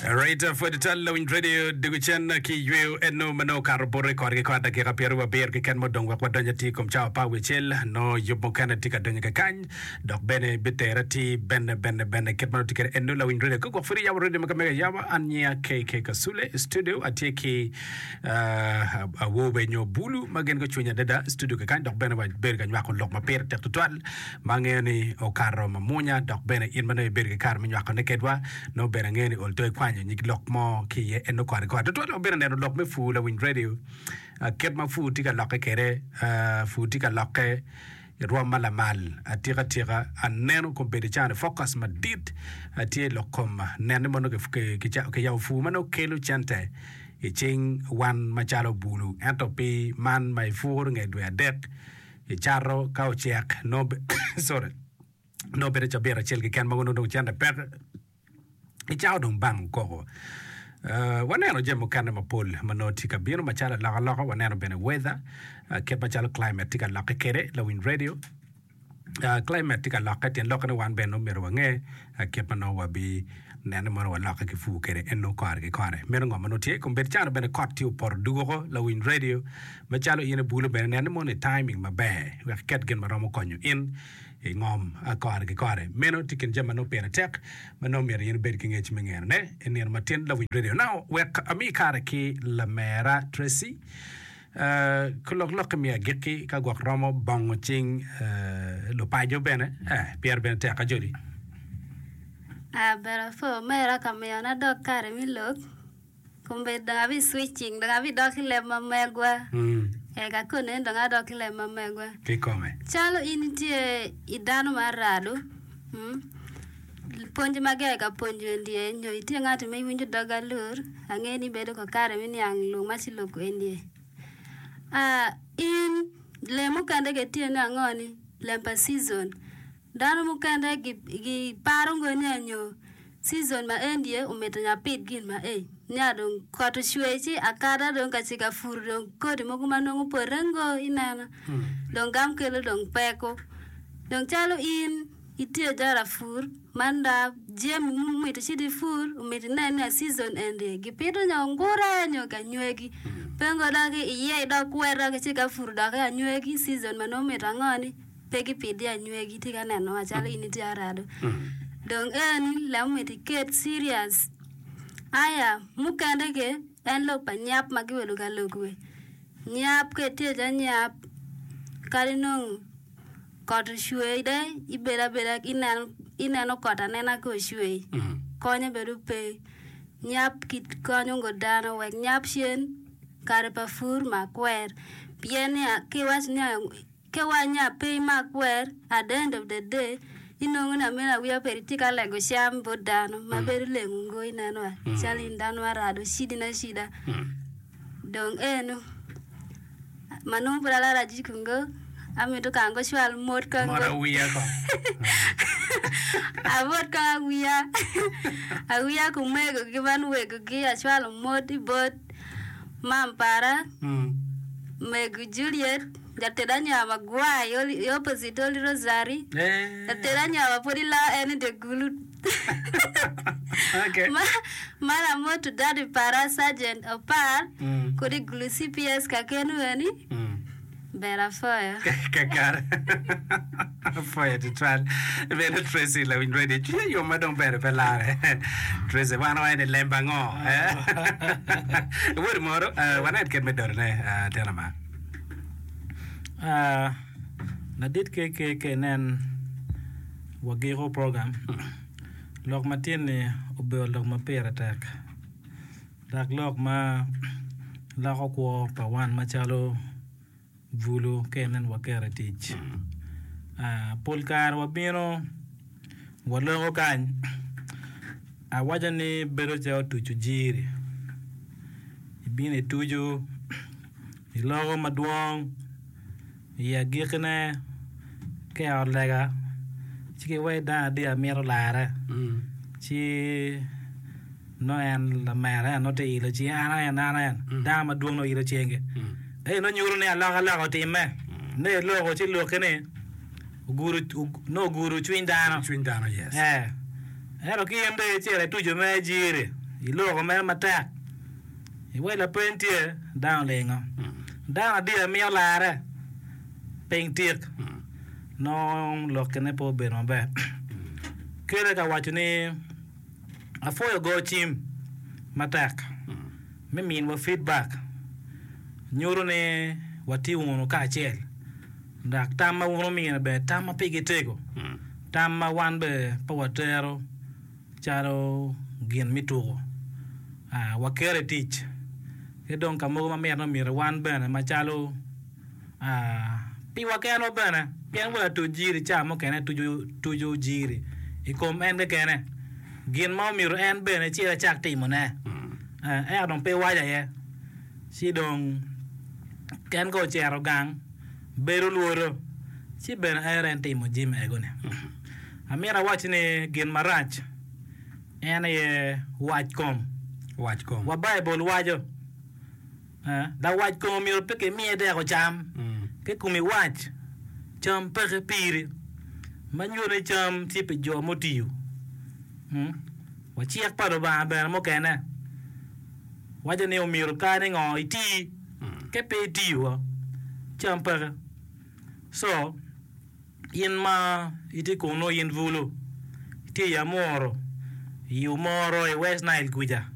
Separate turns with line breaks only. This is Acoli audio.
Right, pwod tal lawiny radio dugu cen ki yweyo eno ma nongo okato bote kore ki kore dakika pyeraryo abiro keken ma odong wek wadony atir i kom cawa apar wiye acel nongo yub mukene tye ka donyo kakany dok bene bitere atir bene bene bene kit ma nongo tye kwede eno lawiny radio ka gwok pud iyabo radio ma ka mege ayaba an nyinga KK Kasule i studio atye ki uh, awobe nyo bulu ma gin gucwiny adada i studio kakany dok bene wabedo ka nywako lok ma pire tek tutwal ma angeyo ni okato mamwonya dok bene in ma nongo ibedo ki kare me nywakone kedwa nongo bene angeyo ni ol to ikwanyo nyig lok mo ki iye en nongo kore kore tutwal wabedo neno lok me pur lawiny radio kit ma pur tye ka lokke kwede pur tye ka lokke i rwom ma lamal atika tika aneno kombeddi cani focus madit tye i lok kom nene ma nongo kiyabo pur ma nongo kelo cente i cing wan macalo bulu ento pi man ma ipuro nge dwe adek Icato ka ocek nongo sorry nongo bedo cabit acel keken mogo nongo dong cente peke icako dong bango koko. Uh, waneno jami mukene mapol ma nongo tye ka bino macalo alokaloka, waneno bene weather uh, kit macalo climate tye ka lokke kwede lawiny radio uh, climate tye ka lokke tyen lokke ni wan bene nongo myero wange uh, kit ma nongo wabi nene mono walokke ki pur kwede en nongo kore ki kore meno ngo ma nongo tye kombeddi cano bene kot tye opoto dugo oko lawiny radio Macalo in ibulo bene, nen ni mono i timing maber wek iket gin ma romo konyo in i ngom kore ki kore. Meno tye kin jami ma nongo pire tek ma nongo myero in ibed ki ngec me ngeno-ne i nino ma tin lawiny radio. Now, wek ami kare ki lamera Tracy ki lok lokke me agikki ka gwok romo bongo cing lupaco bene pire bene tek ajoli.
Ber apwo omera ka miyona dok kare me lok. Kombeddi dong abi switching dong abi dok i leb ma megwa. Ee ka koni ni dong adok i leb ma megwa.
Kikome.
Calo in itye i dano ma arado, mm, pwony ma gia ka pwonyo endye nyo itye ngat ma iwinjo dog alur, angeyo ni ibedo ko kare me niang lok ma ci loko endye. Ah, in lem mukene ke tye ni ango ni lem pa season. Dano mukene giparo ngo ni anyo season ma en tye omito ni apit gin ma ei nia dong kot ocwer ci akata dong ka ci ka pur dong kodi mogo ma nongo pote ngo ineno dong gam kelo dong peko dong calo in itye calo lapur man da jami ma omito ci ipur omito inen ni season eni gipito nyo ngura nyo ki anywegi pe ngo dok iye idok kwed ci ka pur dok anywegi season ma nongo mito ango ni pe gipidi anywegi tye ka neno wa calo in itye arado dong eni lem omyero iket serious aya mukene ke en lok pa nyap ma gibedo ka lok we nyap ka itye calo nyap kadi nong kot ocwer de ibedo abeda ineno ineno kot anena ka ocwer konye bedo pe nyap konyo ngo dano wek nyap cen kare pa pur mak kwer pien niya ki iwaco niya Ka wanya pe imak wer, at the end of the day inongo ni ameno awiya peri tye ka lego cam bot dano ma bedo lengo ngo ineno wa calo in dano marado cidi na acida dong eno ma nongo pud alaro ajiko ngo amito kong acwal mot kong
Mot awiya kong.
Amot kong awiya awiya ki omego ki man wego gi acwalo mot i bot mam para mego Juliet Jated anywar magwar i opposite Holy Rosary. Jated anywar ma pwod iloo en i dye gulu. Ma lamoto daddy para Sergeant Opar kodi i gulu CPS kakenu eni. Ber apwoyo.
Kakare. Apwoyo tutwal. Bene Tracy lawiny radio cwinya yom ma dong bene pe lare. Tracy wan waye ni lemba ango? Wod moro wanen kit me dotone tyen ama.
Ladit KK ka inen wagiko program, lok ma tye-ni obedo lok ma pire tek dok lok ma loko kwo pa wan macalo bulu ka inen waketo i tic. Pol kare wabino waloko kany awaco ni bedo calo tuco jiri ibino ituco Iloko madwong i agikkine ka i ot lega ci kiwaci dano adi amito larre ci nongo en lamera en nongo tye ilo cinge an en an en dano madwong nongo ilo cingi ento nongo nyuto ni alokaloka otimme nongo iloko ci lokki ni ogudo nongo ogudo cwiny dano ento ki in dong icito ituco mere jiri. Iloko mere matek. Iwec lapeny tye, dano olingo. Dano adiya miyo larre piny tik, nongo lokkine pe obedo maber. Kele ka waco ni apwoyo go cim matek me minwa feedback nyuto ni watye wunu kacel dok tam ma wun wumine bene tam ma pigi tego, tam ma wan bene pe watero. calo gin me tuko, waketo i tic ki dong ka mogo ma mitte ni myero wan bene macalo piwa kenwa bene pien wa latuc jiri ca mukene tuco jiri i kom en kekene gin ma omyero en bene ecit ecak timone ento dong pe iwaco aye ci dong en ka ocito gang bedo lwodo ci bene ere en timo jami ego-ni. Amito awac ni gin marac en aye wac kom.
Wac kom.
Wa Baibul waco, Lawac kom omyero pe kimiye dek ocam, ki komi wac, cam peke piri. Ma nyuto ni cam tye pi jo mutiyo. Wa cik pa Lubanga bene mukene waco ni omyero ka ni ngo iti, ka pe itiyo cam peke. So. In ma itye kunnu in bulu, itye i Amuru, i Omoro, i West Nile kuca.